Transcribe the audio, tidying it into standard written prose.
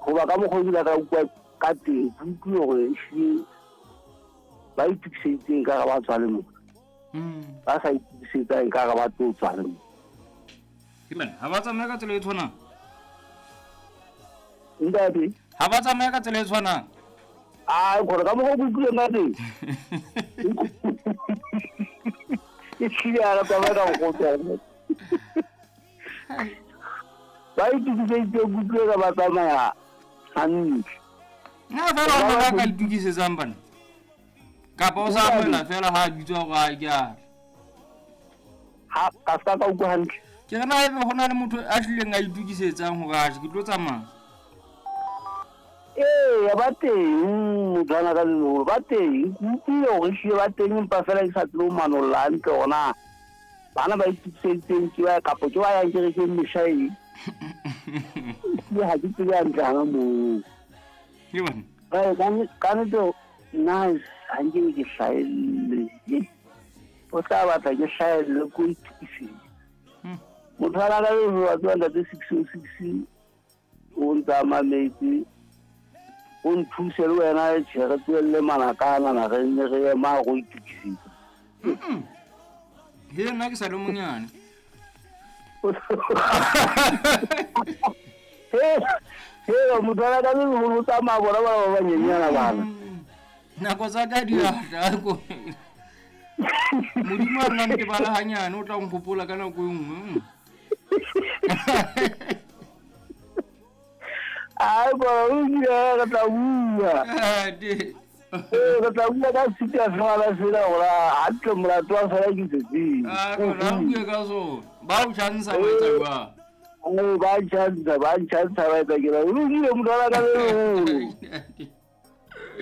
Goba ka mokgwa o kile ka ukwa ka teng, ke utlwile gore ehlile ba itokiseditseng ka ga ba tswa le mo. Ba sa itokisetsang ka ga ba tlo tswa le mo. Ha ba tsamaye ka tsela e tshwanang. Ntate. Ha ba tsamaye ka tsela e tshwanang. A gore ka mokgwa o ke utlwileng ka teng. Ehlile ha re tsamaye ka mokgwa o tshwanang. Ba itokiseditse kutlwe ka ba tsamaya hantle. Nna fela o na ka itokisetsang bana. Kapa o sa amohela fela ha a bitswa hore a ke a. Ha ka ska ka utlwa hantle. Ke re na ebe ho na le motho a hlileng a itokisetsang hore a ke tlo tsamaya. Ee, ba teng motho ana ka leholo ba teng. Ke utlwile hore ehlile ba teng empa fela ke sa tsebe ho manolla hantle hore na bana ba itokiseditseng ke ba kapa ke ba yang kerekeng mehla e. Ehlile ha ke tsebe hantle hana moo. Ke bana. Ka nnete nna ha nke ke hlahelle. O tla batla ke hlahelle ko itokisetse. Motho a ka le wa tswa ntate 606 o ntsa mametse o nthuse le wena tjhe re tlohelle manakana na re nne re ema go itokisetsa. He nna ke sa le monyane. He motho a ka le leholo o tsamaya bona bana ba banyenyana bana. Nako tsa ka di a tla ko. Modimo a nna ntebala hanyane o tla nkgopola ka nako e nngwe. Ai bona o ile re tla bua. Ee, re tla bua ka sita fela sena gore hantle molato wa fela ke setseng. Ah, rona re bue ka sona. Ba o chantsha ba etsa jwang? Ba chantsha, ba chantsha ba etsa ke ra. O ile motho a ka le leholo.